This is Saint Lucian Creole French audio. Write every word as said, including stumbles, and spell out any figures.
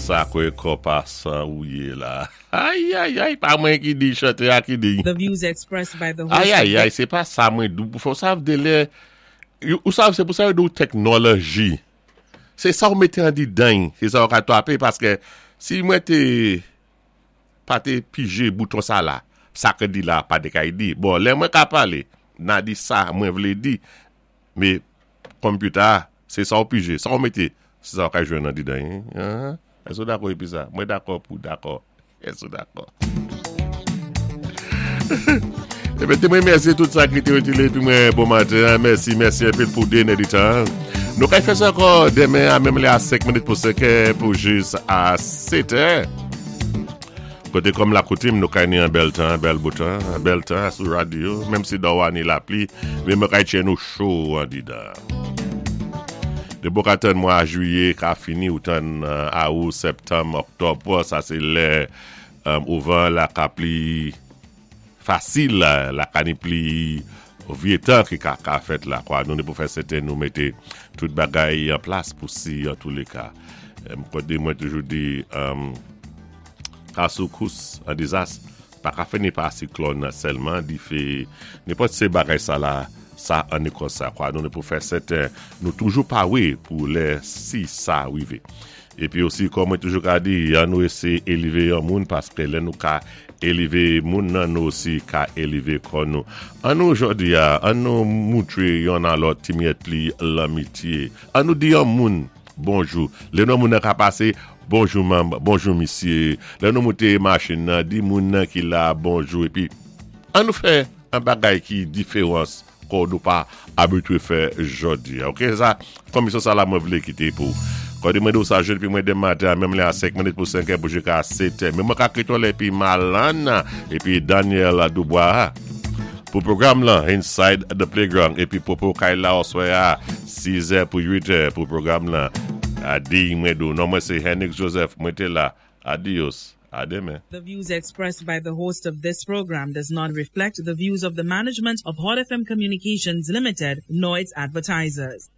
Sa kwe kopasan ou yé la. Ay, ay, ay, pa mwen ki di chantè a ki di. The views expressed by the host Ay, ay, ay, sé pa sa mwen dou. Pou sav de lè, ou sav sé pou sa yo dou teknoloji. Sé sa ou mété an di dan, sé sa ou ka twapé, paské si mwen té pa té pijé bouton sa la, sa ke di la pa té kay di. Bon, lè mwen ka palé, na di sa mwen vlé di, mé computer, sé sa ou pijé, sa ou mété, sé sa ou ka jwenn an di dan. Èske ou dakò épi sa? Mwen dakò pou dakò. Èske ou dakò? Ébé, té mwen mèsi tout sa ki té wété épi mwen bon maten. Mèsi, mèsi anpil pou déné di tan. Nou kay fè sa ankò denmen a menm lè a senk minit pou senk pou jis a sèt. Koté kòm la koutim, nou kay ni an bèl tan, bèl bo tan, bèl tan sou radyo, menm si dòwa ni lapli, mé mwen kay tjè nou cho an di dan. Dépi ou ka tann mwa jwiyé ka fini ou tann awou, septanm, oktòb, sa sé lè ouvan la ka pli fasil, la ka ni pli vyé tan ki ka ka fèt la kwa. Nou ni pou fè sèten nou mété tout bagay an plas pou si an tou lé ka. Mwen mwen toujou di ka soukous an dizas pa ka fè ni pa siklòn sèlman di fé nenpòt sé bagay sa la sa an ni kon sa kwa. Nou ni pou fè sèten nou toujou pawé pou lè si sa wivé. Épi osi kòm mwen toujou ka di, an nou éséyé élévé yon moun paské lè nou ka élévé moun nan nou osi ka élévé kò nou. An nou jòdi a, an nou moutré yon an lòt ti myèt pli lanmityé. An nou di yon moun bonjou. Lè nou moun nan ka pasé, bonjou manm, bonjou misyé. Lè nou mouté machin nan, di moun nan ki la bonjou. Épi, an nou fè an bagay ki diferans kon nou pa abitwé fè jòdi. Ok, sa, komisyon sa la mwen vlé kité pou. Kòdé mwen do sa jèn pi mwen demen maten, menm lè a senk minit pou senk pou jiska sèt. Mé mwen ka kité épi Malan, épi Daniel Dubois. Pou pwogram lan, Inside the Playground, épi Popo Kay la oswè a sis pou uit pou pwogram lan. Adi mwen do, non mwen sé Henrik Joseph, mwen té la. Adios. A denmen. The views expressed by the host of this program does not reflect the views of the management of Hot F M Communications Limited nor its advertisers.